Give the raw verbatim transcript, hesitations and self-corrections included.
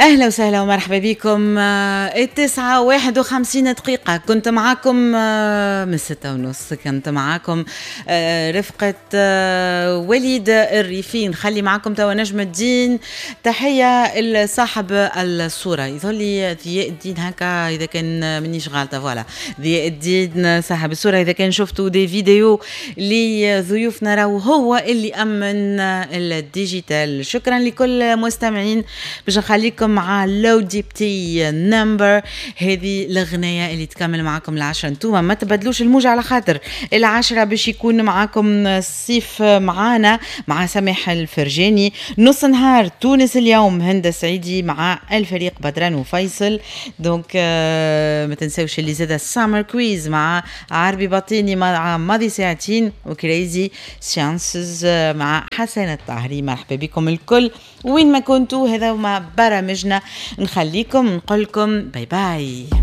اهلا وسهلا ومرحبا بكم. آه، التسعة واحد وخمسين دقيقة كنت معاكم، آه، من ستة ونص كنت معاكم آه، رفقة وليد الريفي. نخلي معاكم توا نجم الدين. تحية لصاحب الصورة، يظهر لي ضياء الدين هكا إذا كان مانيش غالطة. voilà، ضياء الدين صاحب الصورة. إذا كان شفتوا des vidéos لضيوفنا راهو هو اللي أمن ال digital. شكرا لكل مستمعين. باش نخليكم مع لو ديبتي number، هذه الأغنية اللي تكمل معكم العشرة. انتوما ما تبدلوش الموجة على خاطر العشرة باش يكون معكم الصيف معانا مع سامح الفرجاني. نص نهار تونس اليوم، هند سعيدي مع الفريق بدران وفيصل. donc آه، ما تنساوش اللي زاد summer quiz مع عربي بطيني مع ماضي ساعتين، و Crazy Sciences مع حسن الطاهري. مرحبا بكم الكل وين ما كنتوا، هذا ما برامجنا. نخليكم، نقول لكم bye bye.